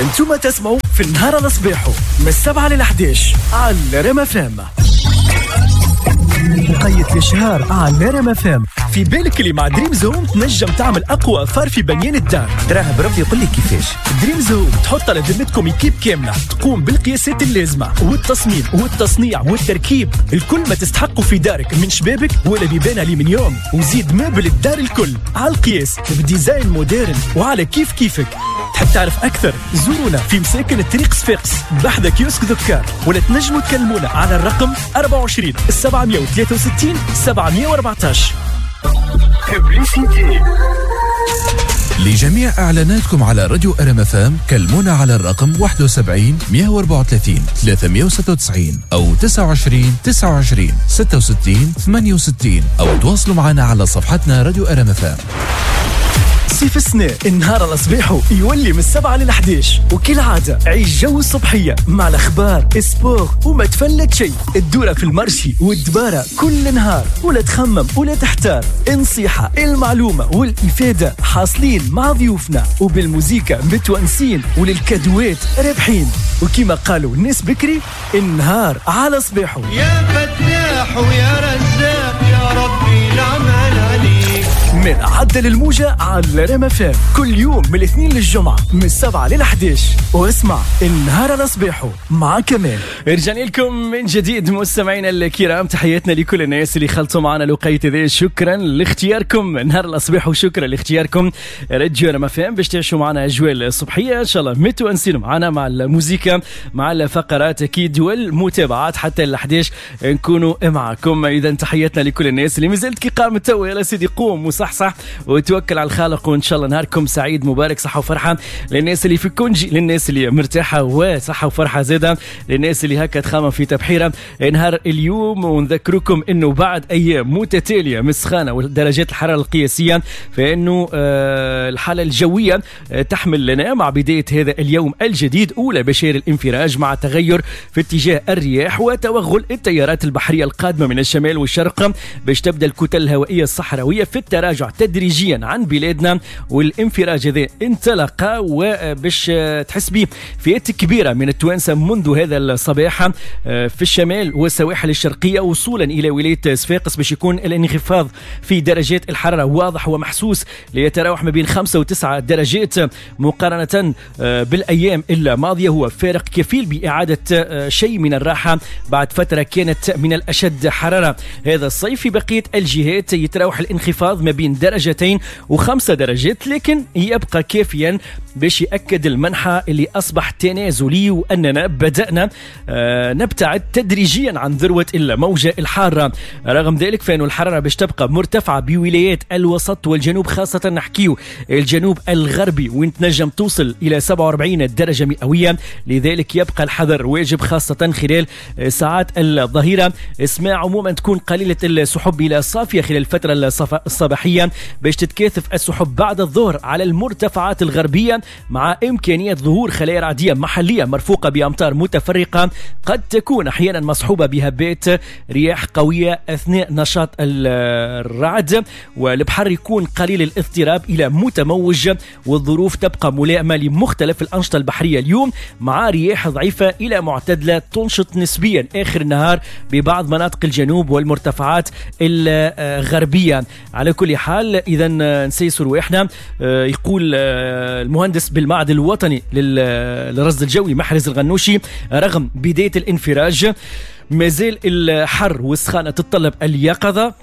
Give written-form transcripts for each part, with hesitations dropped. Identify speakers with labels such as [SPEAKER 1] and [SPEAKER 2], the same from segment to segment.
[SPEAKER 1] انتم تسمعوا في النهار على صباحه من 7 لل 11 على رام FM. وقيت الشهر على رام FM. في بالك اللي مع Dreams Home تنجم تعمل اقوى affaire في بنيان الدار.
[SPEAKER 2] تراه بربي قول لي كيفاش.
[SPEAKER 1] Dreams Home تحط على ذمتكم équipe كاملة تقوم بالقياسات اللازمة والتصميم والتصنيع والتركيب، الكل ما تستحقوا في دارك من شبابك ولا بيبان الومنيوم، وزيد meuble الدار الكل على القياس ب design moderne وعلى كيف كيفك. تحب تعرف أكثر؟ زورونا في مساكن الطريق صفاقس بحذا كيوسك ذكار، ولا تنجموا تكلمونا على الرقم 24 763 714.
[SPEAKER 3] لجميع إعلاناتكم على راديو RMFM كلمونا على الرقم 71 134 396 أو 29 29 66 68، أو تواصلوا معنا على صفحتنا راديو RMFM.
[SPEAKER 1] صيف السنة النهار على صباحه يولي من 7 لل 11، وكالعادة عيش جو الصبحية مع الأخبار sport وما تفلت شيء. الدورة في ال marché والدبارة كل نهار، ولا تخمم ولا تحتار. النصيحة المعلومة والإفادة حاصلين مع ضيوفنا، وبالموزيكا متونسين، وللكادوات رابحين. وكما قالوا الناس بكري، النهار على صباحه.
[SPEAKER 4] يا فتاح ويا رزاق يا ربي العمل عليك.
[SPEAKER 1] من عدل الموجة على رام FM كل يوم من الاثنين للجمعة من 7 لل 11، واسمع النهار على صباحه مع كمال. رجعنا لكم من جديد مستمعينا الكرام، تحياتنا لكل الناس اللي خلطوا معنا الوقيت هذا. شكرا لاختياركم نهار الصباح، وشكرا لاختياركم راديو رام FM باش تعيشوا معنا اجواء الصبحية ان شاء الله متونسين معنا مع الموسيقى مع الفقرات اكيد والمتابعات حتى ال 11 نكونوا معكم. اذا تحياتنا لكل الناس اللي مازالت كي قامت توا، يا سيدي قوم وصح صح وتوكل على الخالق، وان شاء الله نهاركم سعيد مبارك، صحة وفرحه للناس اللي في congé، للناس اللي مرتاحة وصحة وفرحه زاده للناس اللي هكا تخمم في تبحيره نهار اليوم. ونذكركم انه بعد ايام متتالية من السخانه ودرجات الحرارة القياسية، فانه الحالة الجوية تحمل لنا مع بداية هذا اليوم الجديد اولى بشائر الانفراج مع تغير في اتجاه الرياح وتوغل التيارات البحرية القادمة من الشمال والشرق، باش تبدا الكتل الهوائية الصحراوية في التراجع تدريجيا عن بلادنا. والانفراج هذا انطلق وباش تحس به فئات كبيرة من التوانسة منذ هذا الصباح في الشمال والسواحل الشرقية وصولا إلى ولاية صفاقس، باش يكون الانخفاض في درجات الحرارة واضح ومحسوس ليتراوح ما بين 5 و9 درجات مقارنة بالأيام الماضية. هو فارق كفيل بإعادة شيء من الراحة بعد فترة كانت من الأشد حرارة هذا الصيف. في بقية الجهات يتراوح الانخفاض ما بين 2 و5 درجات، لكن يبقى كافيا باش يأكد المنحى اللي أصبح تنازلي، وأننا بدأنا نبتعد تدريجيا عن ذروة الموجة الحارة. رغم ذلك فإن الحرارة باش تبقى مرتفعة بولايات الوسط والجنوب، خاصة نحكيو الجنوب الغربي وين تنجم توصل إلى 47 درجة مئوية. لذلك يبقى الحذر واجب خاصة خلال ساعات الظهيرة. اسماء عموما تكون قليلة السحب إلى صافية خلال الفترة الصباحية، باش تتكاثف السحب بعد الظهر على المرتفعات الغربية مع إمكانية ظهور خلايا رعدية محلية مرفوقة بأمطار متفرقة قد تكون أحيانا مصحوبة بهبات رياح قوية أثناء نشاط الرعد، والبحر يكون قليل الاضطراب إلى متموج، والظروف تبقى ملائمة لمختلف الأنشطة البحرية اليوم مع رياح ضعيفة إلى معتدلة تنشط نسبيا آخر النهار ببعض مناطق الجنوب والمرتفعات الغربية. على كل حال إذا نسيسر وإحنا يقول المهندس بالمعهد الوطني للرصد الجوي محرز الغنوشي، رغم بداية الانفراج مازال الحر والسخانة تتطلب اليقظة،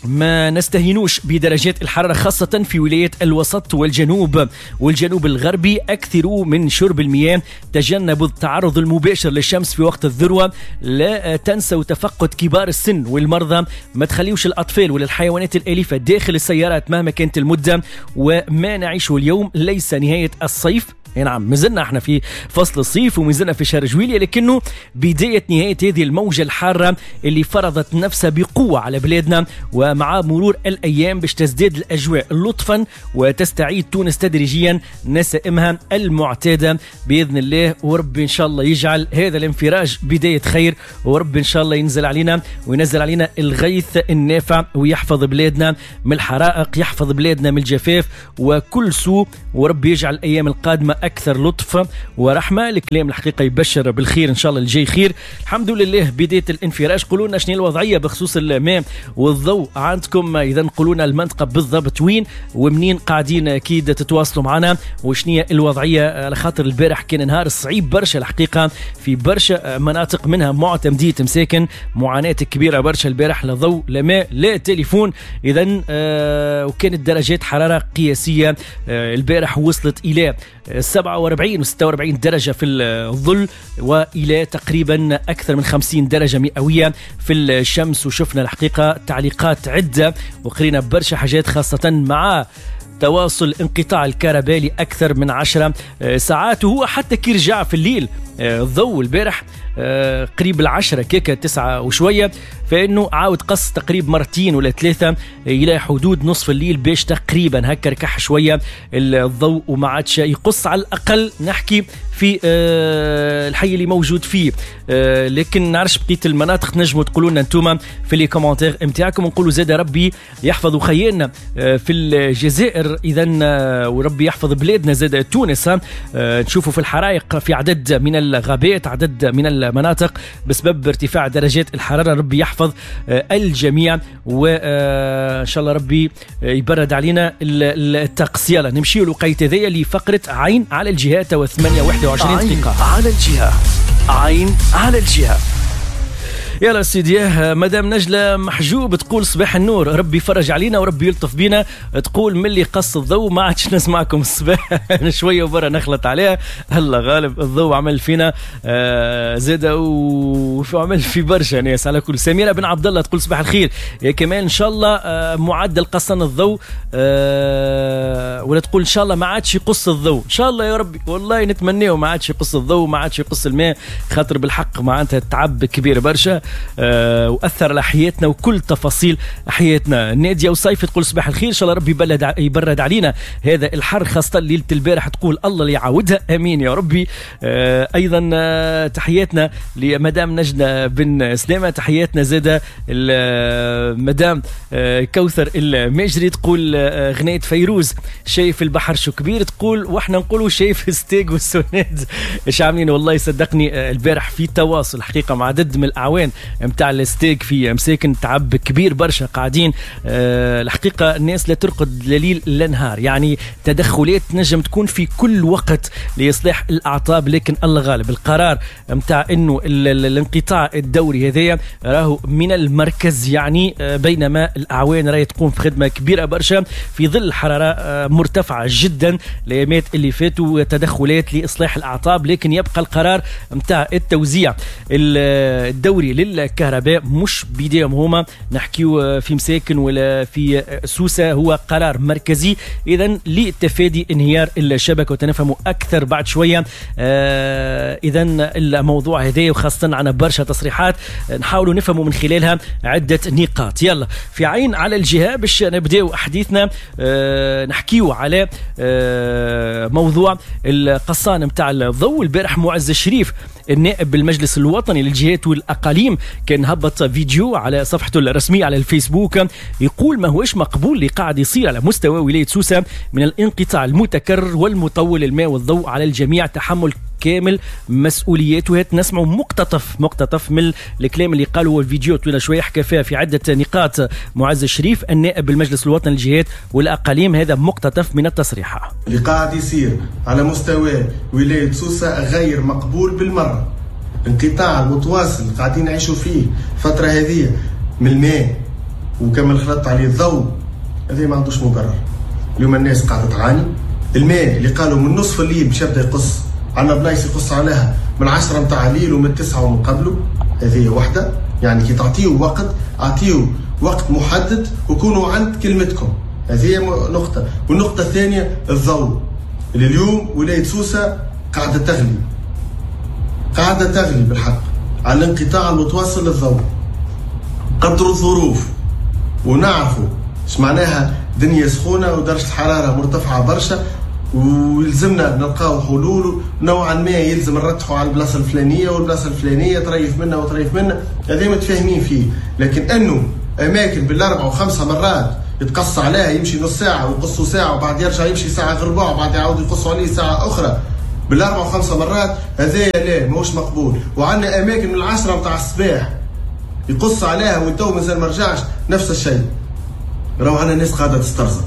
[SPEAKER 1] ما نستهينوش بدرجات الحرارة خاصة في ولايات الوسط والجنوب والجنوب الغربي. أكثروا من شرب المياه، تجنبوا التعرض المباشر للشمس في وقت الذروة، لا تنسوا تفقد كبار السن والمرضى، ما تخليوش الأطفال ولا الحيوانات الأليفة داخل السيارات مهما كانت المدة. وما نعيشه اليوم ليس نهاية الصيف، نعم مازلنا احنا في فصل الصيف ومازلنا في شهر جويلية، لكنه بداية نهاية هذه الموجة الحارة اللي فرضت نفسها بقوة على بلادنا. ومع مرور الأيام باش تزداد الأجواء لطفا وتستعيد تونس تدريجيا نسائمها المعتادة بإذن الله. وربي إن شاء الله يجعل هذا الانفراج بداية خير، وربي إن شاء الله ينزل علينا وينزل علينا الغيث النافع ويحفظ بلادنا من الحرائق، يحفظ بلادنا من الجفاف وكل سوء، وربي يجعل الأيام القادمة أكثر لطف ورحمة. الكلام الحقيقة يبشر بالخير، إن شاء الله الجاي خير. الحمد لله بداية الانفراج. قولوا لنا شنو الوضعية بخصوص الماء والضوء عندكم، إذا قولوا لنا المنطقة بالضبط وين ومنين قاعدين، أكيد تتواصلوا معنا وشنو الوضعية، على خاطر البارح كان نهار صعيب برشا الحقيقة في برشا مناطق، منها معتمدية مساكن، معاناة كبيرة برشا البارح، لا ضوء لا ماء لا تليفون. إذا وكانت درجات حرارة قياسية البارح وصلت إلى 47 و 46 درجة في الظل، وإلى تقريبا أكثر من 50 درجة مئوية في الشمس. وشفنا الحقيقة تعليقات عدة وقرينا برشا حاجات، خاصة مع تواصل انقطاع الكهرباء لأكثر من 10 ساعات، وهو حتى كي رجع في الليل الضوء البارح قريب 10 كيكة 9 وشوية، فإنه عاود قص تقريب مرتين ولا 3 إلى حدود نصف الليل باش تقريبا هكا ركح شوية الضوء وما عادش يقص، على الأقل نحكي في الحي اللي موجود فيه. لكن نعرفش بقية المناطق، نجموا تقولوا لنا انتوما في les commentaires نتاعكم. ونقولوا زاد ربي يحفظ خيالنا في الجزائر، إذا وربي يحفظ بلادنا زاد تونس. نشوفوا في الحرائق في عدد من الغابات، عدد من المناطق بسبب ارتفاع درجات الحرارة. ربي يحفظ الجميع، وإن شاء الله ربي يبرد علينا الطقس. يلا نمشيو الوقيت هذايا لفقرة عين على الجهة، 8:21 دقيقة.
[SPEAKER 2] على الجهة، عين على الجهة.
[SPEAKER 1] يلا سيدي، مدام نجلة محجوب تقول صباح النور، ربي يفرج علينا وربي يلطف بينا. تقول ملي قص الضوء ما عادش نسمعكم الصباح شوية وبرا نخلط عليها. هلا غالب الضوء عمل فينا زاد وعمل في برشا ناس. على كل، سميرة بن عبد الله تقول صباح الخير يا كمال، إن شاء الله معدل قصان الضوء ولا تقول إن شاء الله ما عادش يقص الضوء، إن شاء الله يا ربي، والله نتمناه ما عادش يقص الضوء، ما عادش يقص الماء، خاطر بالحق معناتها تعب كبير برشا وأثر على حياتنا وكل تفاصيل حياتنا. نادية وصيف تقول صباح الخير، إن شاء الله ربي يبرد علينا هذا الحر، خاصة ليلة البارح، تقول الله اللي يعاودها، أمين يا ربي. أيضا تحياتنا لمدام نجنة بن سلامة، تحياتنا زادة مدام كوثر الماجري تقول غنية فيروز شايف البحر شو كبير، تقول واحنا نقولوا شايف الستيق والسوناد ايش عاملين. والله صدقني البارح في تواصل حقيقة مع عدد من الأعوان متاع الستيك في مساكن، تعب كبير برشا قاعدين. الحقيقة الناس لا ترقد لا ليل لا نهار، يعني تدخلات نجم تكون في كل وقت لإصلاح الأعطاب، لكن الله غالب القرار متاع إنه الانقطاع الدوري هذايا راهو من المركز، يعني بينما الأعوان راهي تقوم في خدمة كبيرة برشا في ظل حرارة مرتفعة جدا الأيامات اللي فاتوا، تدخلات لإصلاح الأعطاب، لكن يبقى القرار متاع التوزيع الدوري للكهرباء مش بيديهم هما، نحكيو في مساكن ولا في سوسة، هو قرار مركزي إذن لتفادي انهيار الشبكة، وتنفهموا أكثر بعد شوية. إذن الموضوع هذا، وخاصة عنا برشا تصريحات نحاولوا نفهموا من خلالها عدة نقاط. يلا في عين على الجهة باش نبداو حديثنا، نحكيو على موضوع القصان متاع الضوء. البارح معز الشريف النائب بالمجلس الوطني للجهات والأقاليم كان هبط فيديو على صفحته الرسمية على الفيسبوك يقول ما هوش مقبول اللي قاعد يصير على مستوى ولاية سوسة من الانقطاع المتكرر والمطول الماء والضوء على الجميع، تحمل كامل مسؤولياته. نسمع مقتطف من الكلام اللي قاله الفيديو طويل شوية، حكى فيها في عدة نقاط معز الشريف النائب بالمجلس الوطني للجهات والأقاليم. هذا مقتطف من التصريح.
[SPEAKER 5] اللي قاعد يصير على مستوى ولاية سوسة غير مقبول بالمرة. انقطاع المتواصل اللي قاعدين نعيشوا فيه الفترة هذه من الماء وكمل خلط عليه الضوء، هذا ما عندوش مبرر. اليوم الناس قاعدة تعاني. الماء اللي قالوا من نصف الليل باش يبدا يقص، عندنا بلايص يقص عليها من 10 متاع الليل ومن 9 ومن قبله. هذه واحدة، يعني كي تعطيه وقت اعطيه وقت محدد وكونوا عند كلمتكم. هذه نقطة. والنقطة الثانية الضوء اللي اليوم ولاية سوسة قاعدة تغلي، قاعدة تغلي بالحق على الانقطاع المتواصل للضوء. قدروا الظروف ونعرفوا ايش معناها دنيا سخونة ودرجة الحرارة مرتفعة برشا، ويلزمنا نلقاو حلول نوعا ما، يلزم نرتحوا على البلاصة الفلانية والبلاصه الفلانية، تريف منا وتريف منا، هذا متفاهمين فيه. لكن انه اماكن بالاربع وخمسة مرات يتقص عليها، يمشي نص ساعة ويقصوا ساعة وبعد يرجع يمشي ساعة غير ربع وبعد يعاود يقصوا عليه ساعة اخرى، بالاربع وخمسة مرات، هذا لا ماهوش مقبول. وعندنا اماكن من 10 نتاع الصباح يقص عليها والتو مازال ما رجعش، نفس الشيء. راهو عندنا ناس قاعدة تسترزق،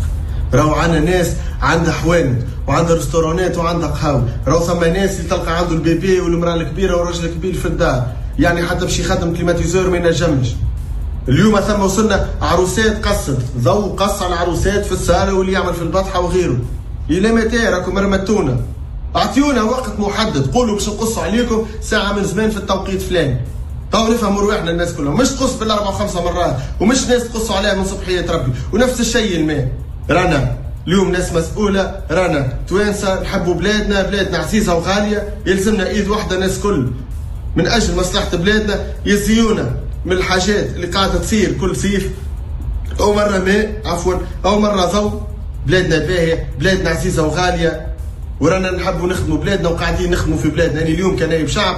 [SPEAKER 5] راهو عندنا ناس عندها حوانت وعندها restaurant ات وعندها قهاوي، راهو ثم ناس اللي تلقى عنده ال bébé والمراة الكبيرة والراجل الكبير في الدار، يعني حتى باش يخدم climatiseur ما ينجمش. اليوم ثم وصلنا عروسات قصت ضوء، قص على العروسات في الصاله واللي يعمل في البطحه وغيره. الى متى راكم رمتونا؟ اعطيونا وقت محدد، قولوا باش نقصوا عليكم ساعة من زمان في التوقيت فلان. تو نفهموا رواحنا الناس كلهم، مش تقص بالاربع وخمسة مرات، ومش ناس تقصوا عليها من صبحيه ربي. ونفس الشيء الماء، رانا اليوم ناس مسؤولة، رانا توانسة نحبوا بلادنا، بلادنا عزيزه وغاليه، يلزمنا ايد واحدة ناس كل من اجل مصلحة بلادنا. يزيونا من الحاجات اللي قاعدة تصير كل صيف، او مرة ماء عفوا او مرة ضوء. بلادنا باهيه، بلادنا عزيزه وغاليه، ورانا نحبوا نخدموا بلادنا وقاعدين نخدموا في بلادنا. يعني اليوم كنايب شعب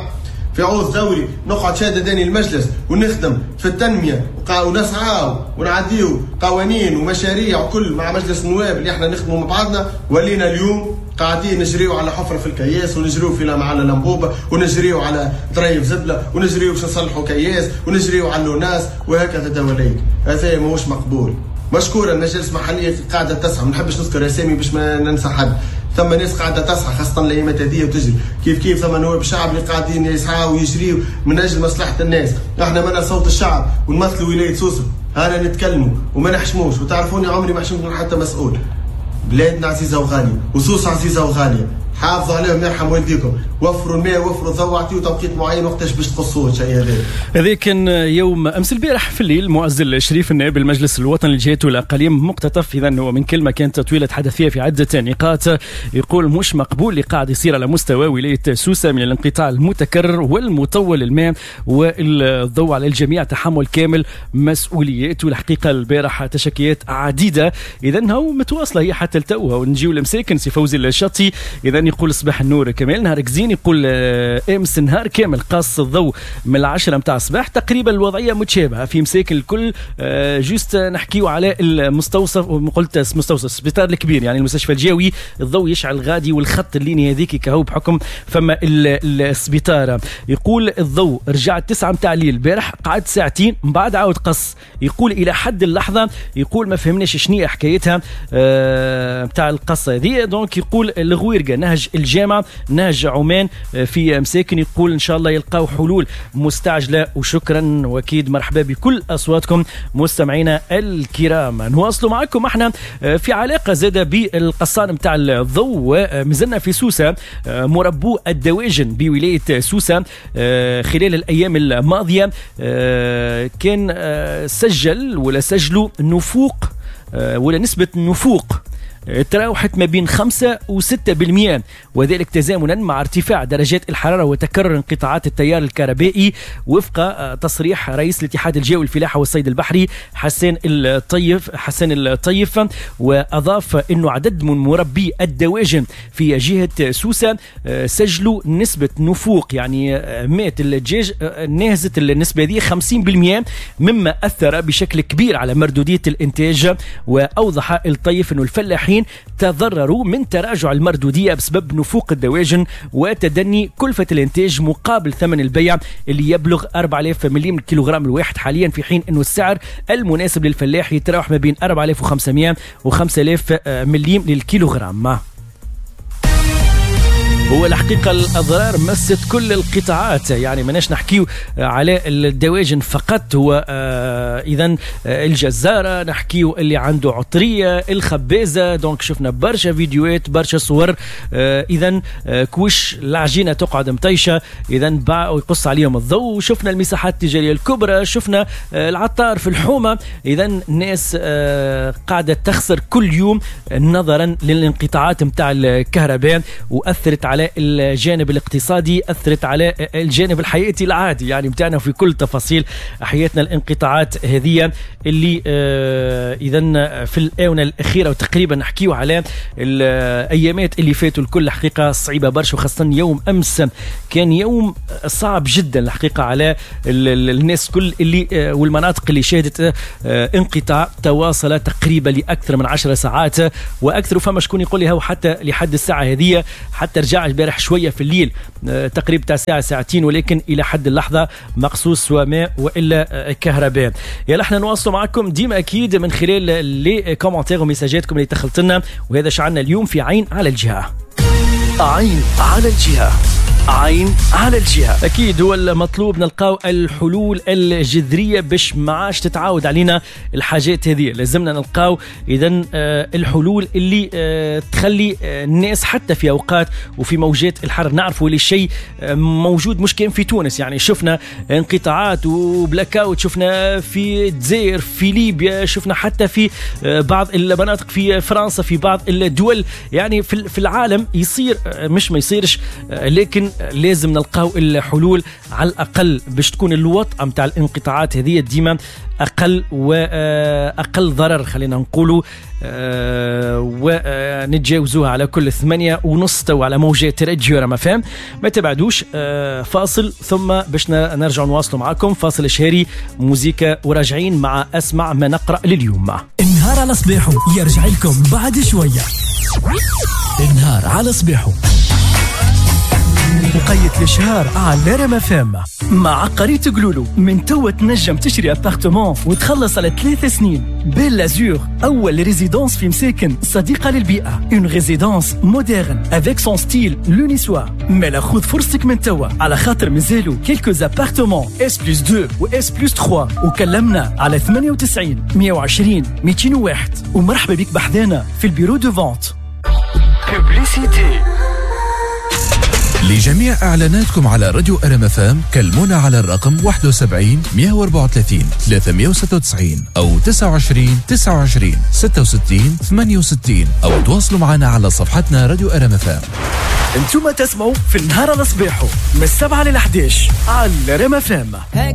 [SPEAKER 5] في عوض دوري نقعد شادداني المجلس ونخدم في التنمية ونسعاو ونعديو قوانين ومشاريع وكل مع مجلس النواب اللي احنا نخدموا مع بعضنا. ولينا اليوم قاعدين نجريو على حفره في الكياس، ونجريو في على لمبوبه، ونجريو على طريف زبله، ونجريو باش نصلحوا كياس، ونجريو على l'ONAS، وهكذا دواليك. هذا ماهوش مقبول. مشكورة المجالس المحلية قاعدة تسعى، ما نحبش نذكر اسامي باش ما ننسى حد. ثم ناس قاعدة تسعى خاصة الايامات هذه وتجري كيف كيف. ثم نواب الشعب اللي قاعدين يسعوا ويجريوا من اجل مصلحة الناس. احنا منا صوت الشعب ونمثلوا ولاية سوسة، هانا نتكلموا وما نحشموش، وتعرفوني عمري ما حشمت من حتى مسؤول. بلادنا عزيزه وغاليه، وسوسه عزيزه وغاليه، حافظوا عليهم يرحم والديكم، وفروا الماء وفروا الضوء، اعطيوا توقيت معين وقتاش باش تقصوه الشيء هذا.
[SPEAKER 1] هذا كان يوم امس البارح في الليل معز الشريف النائب المجلس الوطني للجهات والاقاليم مقتطف اذا هو من كلمة كانت طويلة تحدث فيها في عده نقاط، يقول مش مقبول اللي قاعد يصير على مستوى ولاية سوسة من الانقطاع المتكرر والمطول للماء والضوء، على الجميع تحمل كامل مسؤوليات. والحقيقة البارح تشكيات عديدة اذا هو متواصلة هي حتى لتوها. ونجيو لمساكن سي فوزي الشطي اذا يقول صباح النور كمال، نهارك زين. يقول امس نهار كامل قص الضوء من 10 متاع الصباح تقريبا، الوضعية متشابهة في مساكن الكل. juste نحكيو على المستوصف، قلت مستوصف السبيطار الكبير يعني المستشفى الجاوي، الضوء يشعل غادي والخط ال ligne هذيك كهو بحكم فما السبيطار. يقول الضوء رجع 9 متاع الليل البارح، قعد ساعتين من بعد عاود قص. يقول الى حد اللحظة يقول ما فهمناش شنو حكايتها متاع القصة هذه. donc يقول الغويرقه نهج الجامعة نهج عمان في مساكن، يقول ان شاء الله يلقاو حلول مستعجلة. وشكرا واكيد مرحبا بكل اصواتكم مستمعينا الكرام. نواصلوا معكم احنا في علاقة زاده بالقصان نتاع الضوء. مازلنا في سوسة، مربو الدواجن بولاية سوسة خلال الايام الماضية كان سجل ولا سجلوا نفوق ولا نسبه نفوق تراوحت ما بين 5 و6%، وذلك تزامنا مع ارتفاع درجات الحرارة وتكرر انقطاعات التيار الكهربائي، وفق تصريح رئيس الاتحاد الجوي للفلاحة والصيد البحري حسان الطيف. وأضاف أنه عدد من مربي الدواجن في جهة سوسة سجلوا نسبة نفوق، يعني مات الدجاج نهزت النسبة دي 50%، مما أثر بشكل كبير على مردودية الإنتاج. وأوضح الطيف أنه الفلاحين تضرروا من تراجع المردودية بسبب نفوق الدواجن وتدني كلفة الإنتاج مقابل ثمن البيع اللي يبلغ 4000 مليم الكيلوغرام الواحد حاليا، في حين أنه السعر المناسب للفلاح يتراوح ما بين 4500 و 5000 مليم للكيلوغرام. هو الحقيقة الأضرار مست كل القطاعات، يعني ماناش نحكيو على الدواجن فقط، هو إذن الجزارة، نحكيو اللي عنده عطرية، الخبازة. donc شفنا برشا فيديوهات برشا صور، إذن كوش العجينة تقعد مطيشة، إذن باع ويقص عليهم الضوء. شفنا المساحات التجارية الكبرى، شفنا العطار في الحومة، إذن ناس قاعدة تخسر كل يوم نظرا للانقطاعات متاع الكهرباء، وأثرت على الجانب الاقتصادي، أثرت على الجانب الحياتي العادي يعني متاعنا في كل تفاصيل حياتنا. الانقطاعات هذه اللي إذن في الآونة الأخيرة وتقريبا نحكيو على الأيامات اللي فاتوا الكل حقيقة صعيبة برشا، وخاصة يوم أمس كان يوم صعب جدا الحقيقة على الناس كل اللي والمناطق اللي شهدت انقطاع تواصل تقريبا لأكثر من 10 ساعات وأكثر. فما شكون يقول لي هو حتى لحد الساعة هذه حتى رجع البارح شوية في الليل تقريبا تاع ساعة ساعتين، ولكن الى حد اللحظة مقصوص سواء ماء والا كهرباء. يلا احنا نواصلوا معكم ديما اكيد من خلال les commentaires ومساجاتكم اللي دخلت لنا، وهذا شعلنا اليوم في عين على الجهة. عين على الجهة، عين على الجهة. أكيد هو المطلوب نلقاو الحلول الجذرية باش ما عادش تتعاود علينا الحاجات هذه. لازمنا نلقاو إذن الحلول اللي تخلي الناس حتى في أوقات وفي موجات الحر. نعرفوا اللي الشيء موجود مش كان في تونس، يعني شفنا انقطاعات و blackout، شفنا في الجزائر، في ليبيا، شفنا حتى في بعض المناطق في فرنسا، في بعض الدول، يعني في العالم يصير، مش ما يصيرش، لكن لازم نلقاو الحلول على الأقل باش تكون الوطأة متاع الانقطاعات هذه ديما أقل وأقل ضرر، خلينا نقولوا، ونتجاوزوها على كل 8:30 تو على موجات راديو رام أف أم. ما تبعدوش، فاصل ثم باش نرجع نواصلوا معاكم فاصل شهري موزيكا، وراجعين مع أسمع ما نقرأ لليوم.
[SPEAKER 2] النهار على صباحه يرجع لكم بعد شوية. النهار على صباحه
[SPEAKER 1] وقيت الإشهار على رام أف أم مع قرية قلولو. من توا تنجم تشري appartement وتخلص على 3 سنين. Belle Azur، أول résidence في مساكن صديقة للبيئة، une résidence moderne avec son style l'unisoir. مالا خذ فرصتك من توا على خاطر مازالوا quelques appartements S+2 و S+3، وكلمنا على 98 120 201. ومرحبا بك بحذانا في ال bureau de vente.
[SPEAKER 2] Publicité.
[SPEAKER 3] لجميع إعلاناتكم على راديو أرم أف أم كلمونا على الرقم 71 134 396 أو 29 29 66 68، أو تواصلوا معنا على صفحتنا راديو أرم أف أم.
[SPEAKER 1] انتم تسمعوا في النهار على صباحه من 7 ل 11 على رام أف أم.